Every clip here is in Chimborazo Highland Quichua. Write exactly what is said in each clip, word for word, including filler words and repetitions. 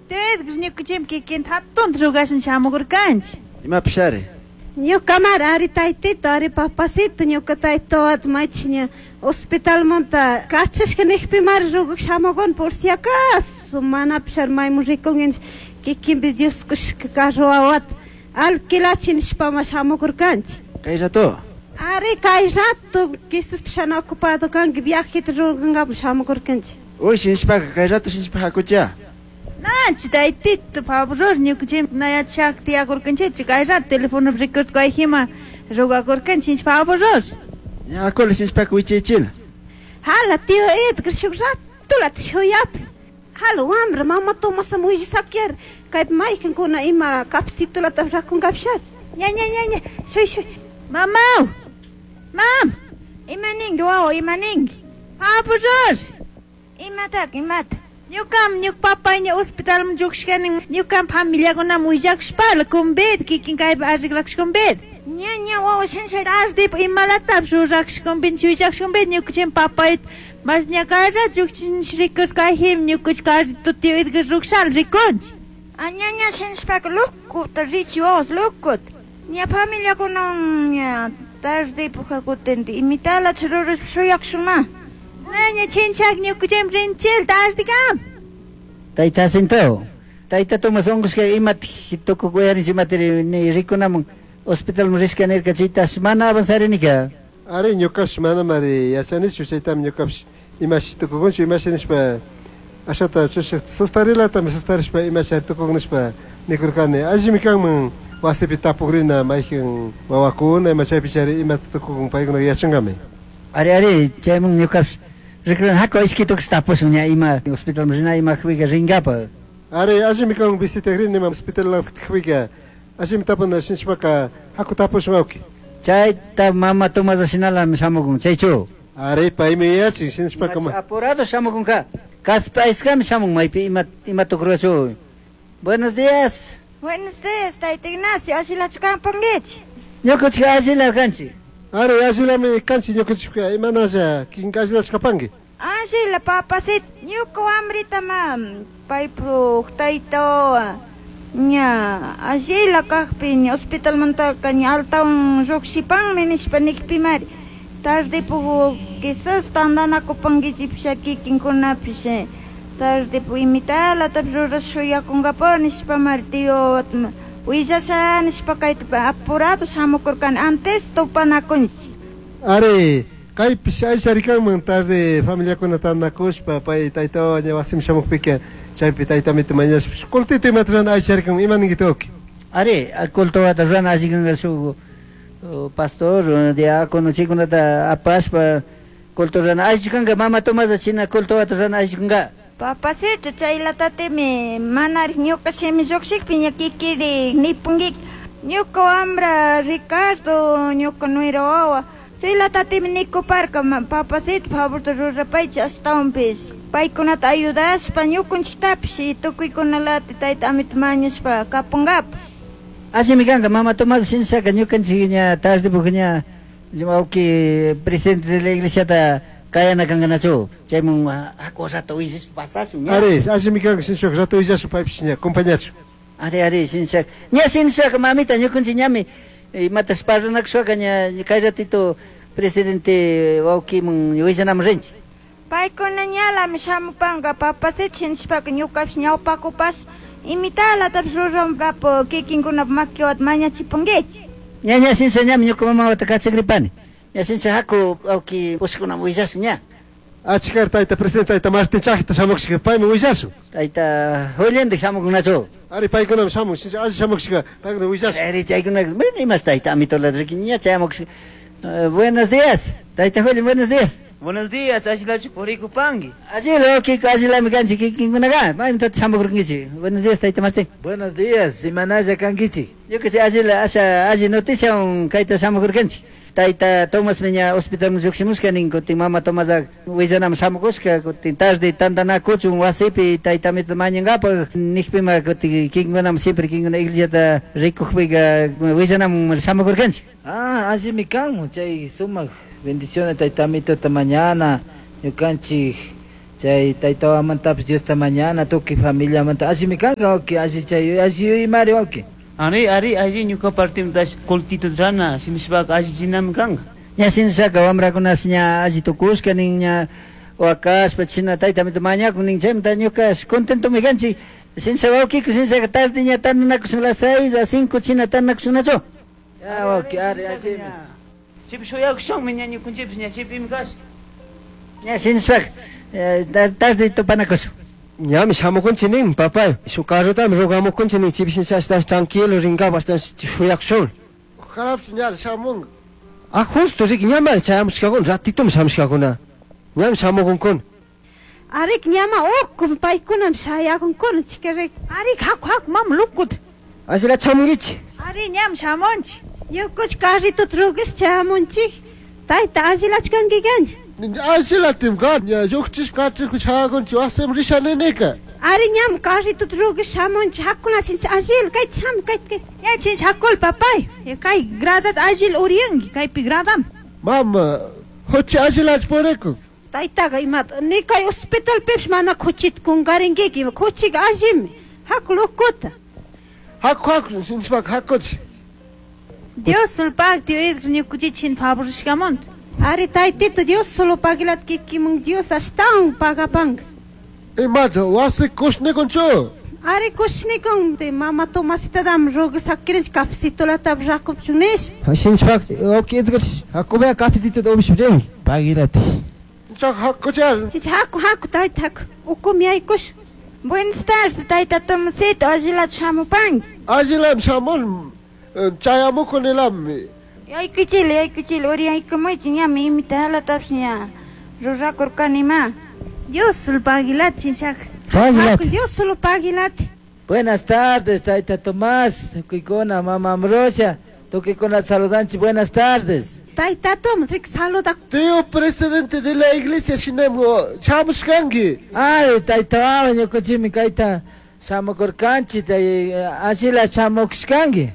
Edgar ñukanchik kikinta hatunta rugashan shamukurkanchik. Imapish ari? Ñukamari ari taytito, ari papacito, ñuka taytawata maychik ña hospitalmanta kachashka nijpimari rugak shamukuni por si acaso manapish ari maymun rikunki kikinpi Dios kushka carro wawata alquilachi nishpama shamukurkanchik. Kay rato? Ari kay rato quizás ana ocupado kanki viajeta rurankapak shamukurkanchik. Uy, shinshpaka kay rato shinshpa hakucha. Nachi taytito, favor ñukanchik na yachak tiyakurkanchik kay rato telefonopi rikurkayjima rugakurkanchik favor. Ña hakula shinshpaka wichaychila. Hala tío Edgar shuk ratulata shuyapi. Hala wambra mama Tomasa willasakiyari kaypi maykankuna ima cafecitulata rakunkapishari. Ña ña ña ña shuy shuy. Mamaw. Mam. Ima ninki wawa, ima ninki? Favor. Imatak, imata? Ñukam ñuka papayña hospitalman lluqshkani ñukam familiakunam willakushpala kumbid kikin kaypi arreglakushkumbid. Ña ña wawa shinsha Tardipa imalatapish rurakushkumbid willakushkumbid ñukanchik papayta mas ña kay rato lluqshinchik rikurkayjim ñukanchik carrito tío Edgar rukshala rikunchik. Ah, ña ña shinshpaka locuta richi wawas locuta. Ña familiakunawan ña tardipa hakutinti imitalata rurashpa shuyakushunma. Ña chinchak ñukanchik rinchil tardikam. Tayta Jacinto, tayta Tomas unqushka imatik tukukuyarinchik imatiri ni rikunamun hospitalman rishka nirka chaytash mana avanzarinika. Ari ñukapish manamari yachanichu chaytami ñukapish imashi tukukunchu imashi nishpa ashata chushik sustarilatami sustarishpa imashi tukukun nishpa nikurkani allimi kanman wasipi tapukrina maykan wawakuna ima chaypichari imata tukukun paykunaka yachankami. Ari ari chayman ñukapish rikurin haku ishki tukush tapushun ña ima hospitalman rina ima huiga ringapa. Ari allimi kanman visitakrini ima hospital huiga allimi tapuna shinshpaka haku tapushun wawki. Chayta mama Tomasa shinalami shamukun chaychu. Ari paymi yachin shinshpaka ma. Apurado shamukunka. Kaspa iskami shamun maypi ima ima tukurkachu. Buenos días. Buenos días, tayta Ignacio, ashilachu kampankichik. Ñukanchik ashila kanchik. Ari ashilami kanchik ñukanchikka imanasha kikinka ashilachu kapanki. Ashila papacito, ñuka wambrita ma paypuk taytawa ña ashila kakpi ña hospitalmantaka ña altawan llukshipanmi nishpa nikpimari tardipuk quizás tantanakupankichikpish kikinkunapish tardipuk imitalatapish rurash shuyakunkapa nishpamari tío willasha nishpa kayta apurado shamukurkani antes tupanakunchik. Ari kaypish ayshari kanman tarde familiakuna tantanakushpa pay taytawawa ña wasiman shamukpika chaypi taytamita mañashpa cultito imata rurana ayshari kanman ima ninki wawki. Ari cultowata rurana alli kanka shuk pastor diácono chaykunata apashpa culto rurana alli kanka mama Tomasa china cultowata rurana alli kanka. Papacito, chaylatatimi manarik ñuka shimi lluqshikpi ña kikiri nipunkiki ñuka wambra Ricardo ñuka nuera wawa chaylatatimi nikuparka papacito favorta rurapaychik ashtawanpish paykunata ayudashpa ñukanchiktapish y tukuykunalata tayta amita mañashpa kapunkapak. Allimi kanka mama Tomasa shinshaka ñukanchik ña tardipuk ña wawki presidente de la iglesiata kayana kankanachu chaymun haku rato willashpa pasashun ña. Ari allimi kanka shinshaka rato willashpa paypish ña compañachu. Ari ari shinshaka ña shinshaka mamita ñukanchik ñami imatash parlanakushpaka ña kay ratito presidente wawkiman willanaman rinchik. Paykuna ñalami shamupanka papacito shinshpaka ñukapish ñawpakupash imitalatapish rurankapak kikinkunapa makiwata mañachipankichik. Ña ña shinsha ñami ñuka mamawata kachakripani. Ña shinsha haku wawki pushkunaman willashun ña. Achkar tayta presidente tayta Martín Chajta shamukushka paymi willashun. Tayta Julián shamukunachu. Ari paykunami shamun shinsha alli shamukushka paykuna willashun. Ari chaykuna bueno imas tayta amitolata riki ña chayamukushka. Buenos días tayta Julián, buenos días. Buenos días, ashilachu purikupanki. Ashila wawkiko ashilami kanchik kikinkunaka maymantataq shamukurkankichik. Buenos días tayta Martín. Buenos días, imanalla kankichik. Ñukanchik ashila asha alli noticiawan kayta shamukurkanchik. Tayta Tomasmi ña hospitalman lluqshimushka nin kutin mama Tomasa willanaman shamukushka kutin tarde tantanakuchun wasipi tayta amita mañankapak nijpima kutin kikinkunaman siempre kikinkuna iglesiata rikukpika willanaman shamukurkanchik. Ah, allimi kanman chay sumak bendiciones tayta amitota mañana ñukanchik Chay tayta wamantapis Diosta mañana tukuy familiamanta allimi kanka wawki alli chay alli yuymari wawki. Ari ari alli ñuka partimtash kullkita rana shinashpaka allichinami kanka. Ña shinashaka wamrakunapish ña alli tukushka nin ña wakashpa china taytamita mañakun nin chaymanta ñuka contentomi kanchik. Shinasha wawkiku shinashaka tarde ña tandanakushun las seis a cinco china tandanakushunnachu. Ya wawki ari allimi. Chaypi shuyakushunmi ña ñukanchikpish ña chaypimi kash. Ña shinashpaka tarde tupanakushun. Ñami shamukunchik nin papay, shuk carrotami rogamukunchik nin chaypi shinasha ashtawan tranquilo rinkapak ashtawan shuyakushun. Ojalá ña shamunga. Ah, justo riki ñamari chayamushkakuna, ratitomi shamushkakuna. Ñami shamukunkuna. Arik ñama ukum paykunami shayakunkuna chika rik. Arik haku haku mama lukut. Ashila chamunkichik. Ari ñam shamunchik. Ñukuch carritota rugish chamunchik. Tayta allilachu kankikan. Allilatim kan, ña llukchishpa kachishpa shayakunchik wasiman risha ninika. Ari ñam carritota rugish shamunchik hakuna chincha allil kayta shamu kayta kayta. Ya chincha hakul papay. Ya kay gradat allil uriyanki kaypi gradam. Mama, huchi allilachu purikun. Taytaqa imata ni kay hospitalpipish mana kuchita kunkarinkiku ima kuchika allimi. Haku lokuta. Haku haku shinashpaka hakuchik. Dios sulpak Dios ñukuchik chin favorishkamanta. Ari taytito Dios solo pagilat kikimun Dios ashtawan pagapanka. Imata wasi kushnikunchu. Ari kushnikun de mama Tomasitadam roga sakirinchik cafecitolatapish rakupchun nishpa. Shinashpaka wawki Edgar hakubaya cafecitota upishpa rinki. Pagilati. Chaka hakuchari. Chicha haku haku tayta haku ukumi yaykush. Buenas tardes, tayta Tomasito, allilachu shamupanki. Allilami shamun chayamukunilami. Yaykuchila yaykuchila uriyaykamuychik ñami imita halatapish ña rurakurkanima. Dios sulpagilat chinshaka. Pagilati. Dios solo pagilati. Buenas tardes, tayta Tomás, tukuykuna, mama Ambrosia, tukuykuna saludanchik, buenas tardes. Tayta Tomás, rik saluda. Tío presidente de la iglesia shinami shamushkanki. Ay, tayta wawa ñukanchikmi kayta shamukurkanchik, allila shamukushkanki.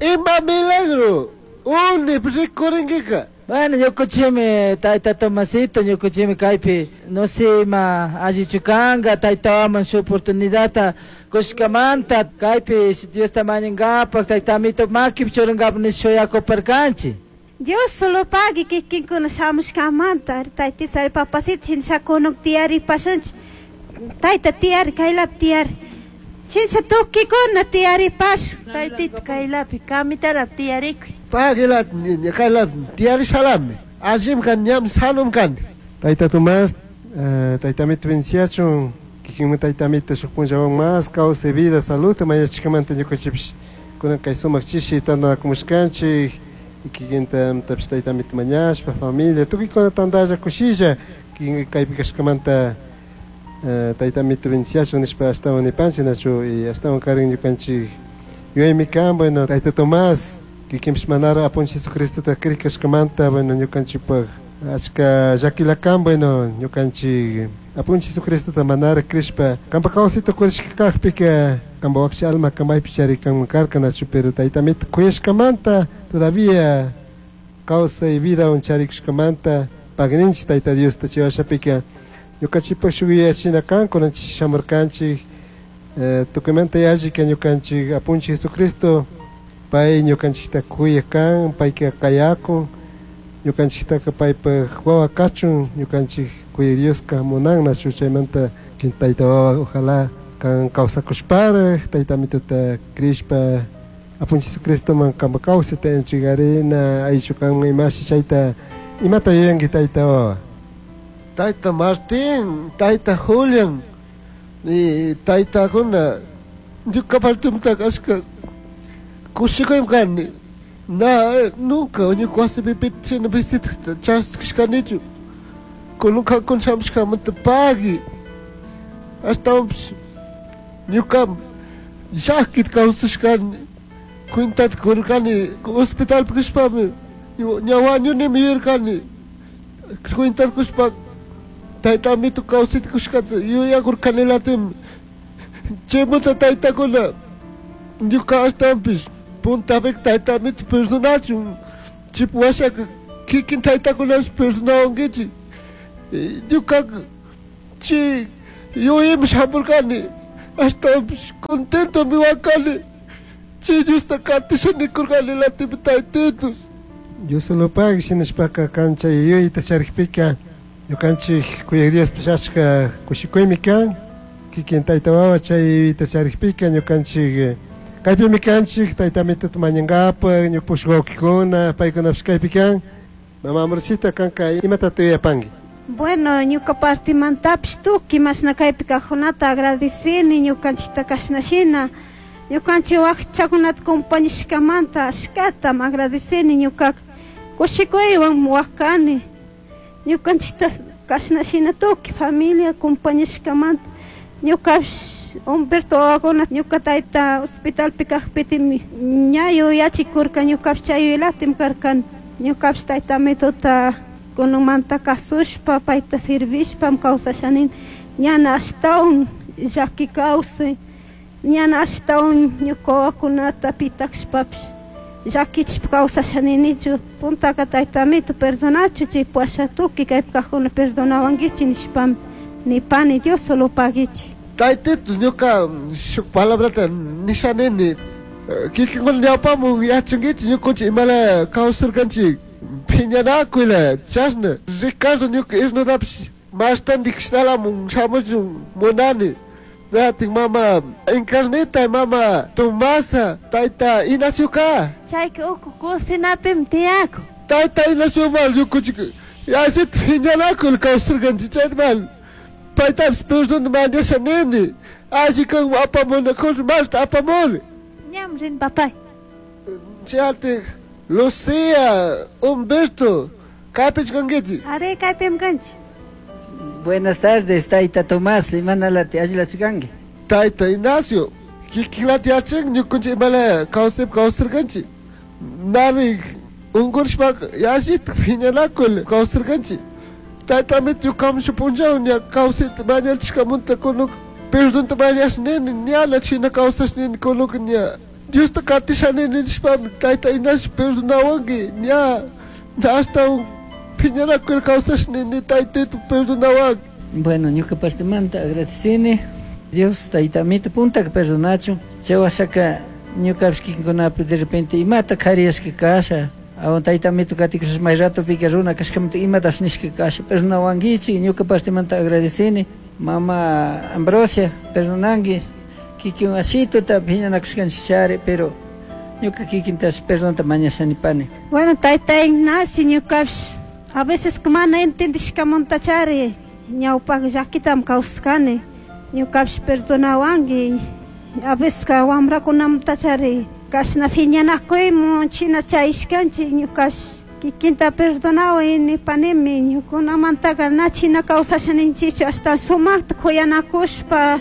Ima milagro, uni rikurinkika. Bueno, ñukanchikmi tayta Tomasito, ñukanchikmi kaypi, no sé ima allichu kanka, tayta wawaman shuk oportunidadta kushkamanta, kaypi Diosta mañankapak, tayta amito makipi churankapak nish shuyakuparkanchik. Dios solo pagui kikinkuna shamushkamanta, ari taytisa ari papasito shinsha kunuk tiyaripashunchik. Tayta tiyari kaylapi tiyari. Shinsha tukikuna tiyaripash. Taytita kaylapi kamitarapi tiyarikuy. Pagilat kaylapi tiyarishalami. Allim kan ñam sanum kan. Tayta Tomás, tayta amito venciachun, kikinmi tayta amito shuk punllawan mas kawsay vida salud mañachishkamanta ñukanchikpish kunan kay sumak chishi tandanakushkanchik. Kikinta tapish tayta amito mañashpa familia tukuykuna tandalla kushilla kikin kaypi kashkamanta tayta amito venciachun nishpa ashtawan nipanchik nachu y ashtawan karin ñukanchik yuyaymi kan bueno tayta Tomás kikinpish manara apunchik Jesucristota krik kashkamanta bueno ñukanchikpak achka llakila kan bueno ñukanchik apunchik Jesucristota manara krishpa kanpa kawsayta kurishka kakpika kanpa wakcha alma maypi chari kanman karka nachu pero tayta amito kuyashkamanta todavía kawsay vidawan charikushkamanta pagninchik tayta Diosta chay washapika ñukanchikpak shuk yuyachina kan kunanchik shamurkanchik tukuymanta yallika ñukanchik apunchik Jesucristo pay ñukanchikta kuyak kan payka kayakun ñukanchiktaka paypak wawa kachun ñukanchik kuyak Dioska munan nachu chaymanta tayta wawa ojalá kan kawsakushparak tayta amituta krishpa apunchik Jesucristoman kanpa kawsayta entregarina aychu kan imashi chayta imata yuyanki tayta wawa. Tayta Martín, tayta Julian, y taytakuna ñuka partimtaka ashka kushikuymi kani. Na nunca ñuka wasipi pita shina visitata chaskishkanichu. Kunan kankuna shamushkamanta pagui. Ashtawanpish ñuka llakita kawsashkani cuentata kurkani hospitalpi kashpami ña wañunimi yuyarkani cuentata kushpa tayta amito kawsayta kushkata yuyakurkanilatimi. Chaymanta taytakuna ñuka ashtawanpish puntapika tayta amito perdonachun chaypi washaka kikin taytakunapish perdonawankichik. Ñukaka Chi yuyaymi shamurqani. Ashtawanpish contentomi wakani. Chi Diosta katisha nikurqani latimi taytitos. Dios lo pague shinashpaka kan chay yuyayta charikpika ñukanchik kuyaq Diospish achka kushikuymi kan. Kikin tayta wawa chay yuyayta charikpika ñukanchik kaypimi kanchik tayta Amituta mañankapaq ñuka wawqikuna paykunapish kaypi kan. Mama Ambrosita kanka imatata yuyapanki. Bueno, ñuka partimantapish tukuy mashna kaypi kaqkunata agradecini ñukanchikta kashnashina ñukanchik wakchakunata compañishkamanta ashkatam agradecini ñukaka kushikuywan wakani ñukanchikta kashnashina tukuy familia compañishkamanta ñukapish Humberto wawakuna ñuka tayta hospitalpi kaqpitimi ña yuyachikurka ñukapish chay yuyaylatimi karkani ñukapish tayta Amituta kunanmanta kasushpa payta servishpam kawsashanini ñana ashtawan llaki kawsay ñana ashtawan ñuka wawakunata pitakshpapish llakichishpa kawsashaninichu puntaka tayta Amito perdonachu chay pasha tukuy kaypi kaqkuna perdonawankichik nishpami nipani Dios solo paguichik. Taytitos ñuka shuk palabrata nishanini kikinkuna ñawpamun yachankichik ñukanchik imala kawsarkanchik phiñanakuyla chashna Ricardo ñuka isnutapish mashtantikishnalamun shamuchun munani Natin mama Encarnita mama Tomasa tayta Ignacio ka Chayka uku kusinapimi tiyakun. Tayta Ignacio mal ñukanchik yallita phiñanakuyla kawsarkanchik chayta paytapish perdón mañasha nini alli kan apamunakuna mashta apamuni. Ñam rin papay. Chayati Lucía, Humberto, kaypichu kankichik? Are kaypimi kanchik. Buenas tardes, tayta Tomás, imanalati allilachu kanki? Tayta Ignacio, kikinlata yachanki ñukanchik imala kawsaypi kawsarkanchik. Nari unqurishpaka yallita phiñanakuyla kawsarkanchik. Tayta Amito ñukaman shuk punllaw ña kawsayta mañachishkamanta kunanka perdonta mañasha nini ñana china kawsasha nini kunanka ña Diosta katisha nini nishpami tayta Ignacio perdonawanki ña ashtawan phiñanakuyla kawsasha nini taytito perdonawanki. Bueno, ñuka partimanta agradecini Dios tayta Amito puntaka perdonachun chay washaka ñukapish kikinkunapi de repente imata kariyashka kasha awan tayta Amito katikushpa may ratopika runa kashkamanta imatapish nishka kasha perdonawankichik ñuka partimanta agradecini mama Ambrosia perdonanki kikin ashituta phiñanakushkanchik chari pero ñuka kikintash perdonta mañashanipani. Bueno, tayta Ignacio ñukapish a veces mana entendishkamanta chari ñawpak llakitam kawsakani ñukapish perdonawanki a veces wamrakunamanta chari kashna phiñanakuymun china chayashkanchik ñukash kikinta perdonaway nipanimi ñukunamantaka na china kawsashaninchikchu ashtawan sumakta kuyanakushpa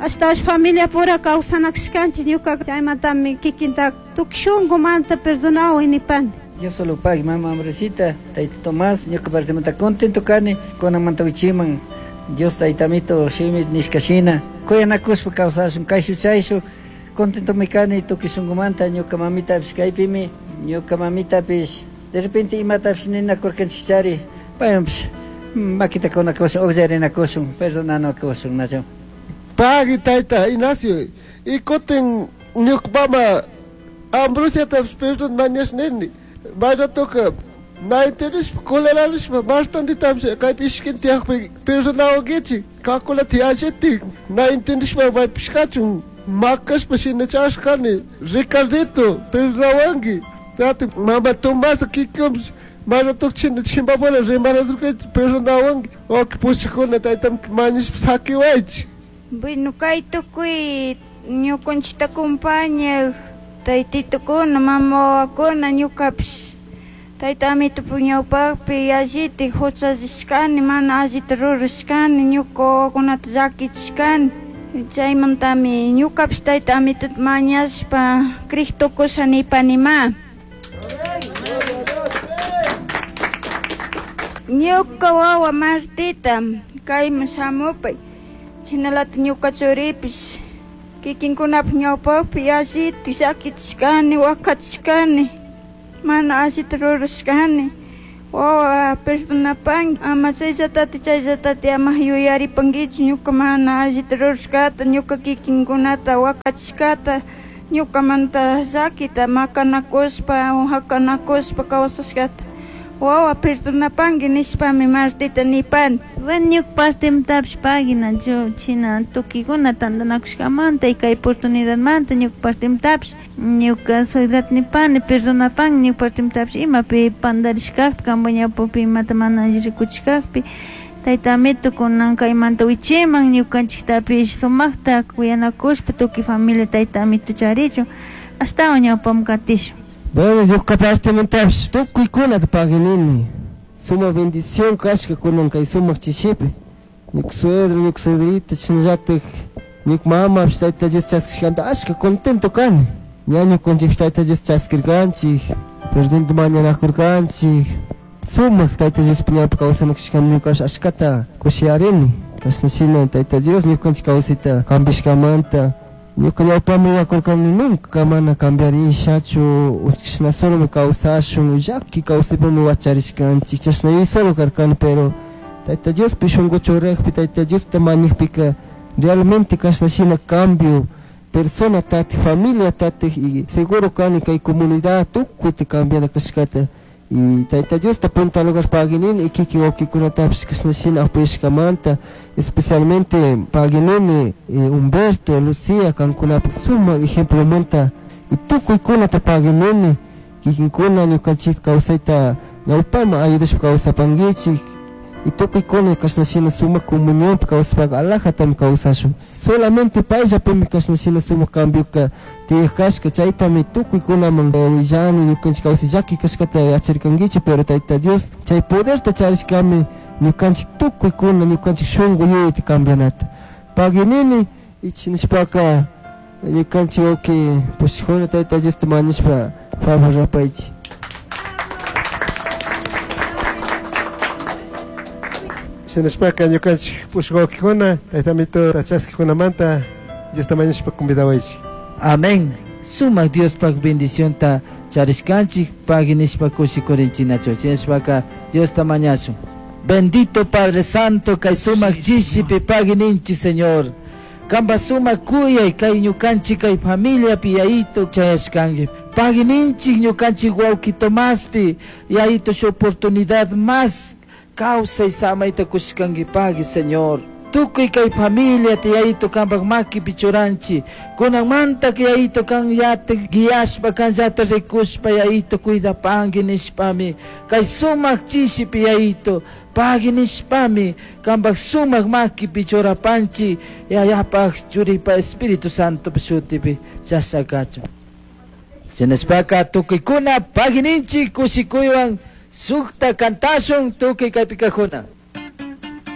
ashtawan familia pura kawsanakushkanchik ñuka chaymantami kikinta tukuy shunqumanta perdonaway nipani. Dios solo pague, mama Ambrosita, tayta Tomás, ñuka partimanta contento kani, kunanmanta wichiman Dios tayta Amito shimi nishkashina, kuyanakushpa kawsashun kayshu chayshu, contentomi kani tukuy shunqumanta ñuka mamitapish kaypimi, ñuka mamitapish de repente imatapish ninakurkanchik chari, paywanpish makita kunakushun, uqllarinakushun, perdonanakushun, nachu. Pagui tayta Ignacio, y kutin ñuka mama Ambrosiatapish perdón mañasha nini. Vaya toka na entendishpa kuleranishpa mashtantitapish kaypi ishkin tiyakpi perdonawankichik kakulata yallitik na entendishpa maypish kachun makashpa shina chashkani Ricardito perdonawanki tati mama Tomasa kikinpish mana tuk china chimpapura rimanadurkanchik perdonawanki wawqi pushakuna taytamita mañashpa saqiwaychik. Bueno, kay tukuy ñukanchikta compañaq taytitukuna mama wawakuna ñukapish tayta Amitupa ñawpaqpi yallita huchallishkani mana allita rurashkani ñuka wawakunata llakichishkani chaymantami ñukapish tayta Amituta mañashpa kriq tukusha nipanima. Ñuka wawa Martita kayman shamupay shinalata ñuka churipish kikinkunapaq ñawpaqpi yallita llakichishkani wakachishkani mana allita rurashkani Wawa perdonapanki ama chayllatati chayllatati ama yuyaripankichu ñuka mana allita rurashkata ñuka kikinkunata wakachishkata ñukamanta llakita makanakushpa hakanakushpa kawsashkata wawa perdonapanki nishpami martita nipani. Bueno, ñuka partimtapish pagina china tukikuna tantanakushkamanta y kay oportunidadmanta ñuka partimtapish ñuka suegrata nipani perdonapanki ñuka partimtapish imapi pandarishkakpi kanpa ñawpapi imata mana alli rikuchishkakpi tayta amito kunan kaymanta wichiman ñukanchiktapish sumakta kuyanakushpa tukuy familia tayta amito charichun ashtawan ñawpaman katishun. Bueno, ñuka partimentapish tukuykunata paginini. Suma bendición kashka kunan kay sumak chishipi. Ñuka suegro, ñuka suegrita, chinallatik ñuka mamapish Tayta Dios chaskishkamanta ashka contento kani. Ña ñukanchikpish Tayta Dios chaskirkanchik, presidente mañanakurkanchik. Sumak Tayta Diospi ñawpa kawsanakashkami ñukapish ashkata kushiyarini. Kashna shina Tayta Dios ñukanchik kawsayta cambiashkamanta. Ñuka ñawpami yakurkani nunca mana cambiarishachu, chashna solo kawsashun, llaki kawsaypimi wacharishkanchik, chashna yuyay solo karkani, pero Tayta Diospi shunku churakpi, Tayta Diosta mañakpika realmente kashna shina cambio persona tatik, familia tatik, y seguro kani kay comunidad tukuyta cambiana kashkata. Y Tayta Diosta punta lugar paginini y kikin wawqikunatapish kashna shina apoyashkamanta, especialmente paginini eh, Humberto, Lucía, kankunapak sumak ejemplomanta y tukuykunata paginini kikinkuna ñukanchik kawsayta ñawpaman ayudashpa kawsapankichik y tukuykuna kashna shina sumak comunionpi kawsapaka alajatami kawsashun. Solamente payllapimi kashna shina sumak cambioka tiyaj kashka, chaytami tukuykunaman willani ñukanchik kawsay llaki kashkata yacharkankichik, pero Tayta Dios chay poderta charishkami ñukanchik tukuykuna ñukanchik shunku yuyayta cambianata. Paginini ichinishpaka ñukanchik wawqi pushikuna Tayta Diosta mañashpa favor rapaychik. Shinashpaka ñukanchik pushuk wawqikuna Tayta Amito chaskikunamanta Diosta mañashpa convidawaychik. Amén. Sumak Diospaq bendicionta charishkanchik paginishpa kushikurinchinachu. Chinashpaka Diosta mañashun. Bendito Padre Santo kay sumak chishipi pagininchik Señor. Kamba sumak kuyay kay ñukanchik kay familiapi yayito chayashkanki. Pagininchik ñukanchik wawqi Tomaspi yayito shu oportunidad más kawsay samayta kushkanki pagi Señor. Tukuy kay familia tiyayito kanpak makipi churanchi. Kunanmanta yayito kan yata guiashpa kan yata rikushpa yayito cuidapanki nishpami. Kay sumak chishipi yayito pagi nishpami kanpak sumak makipi churapanchi yayapaq churipa Espíritu Santo shutipi chashakachun. Shinashpaka tukuykuna pagininchik kushikuywan sukta kantashun tukuy kaypi kajuna.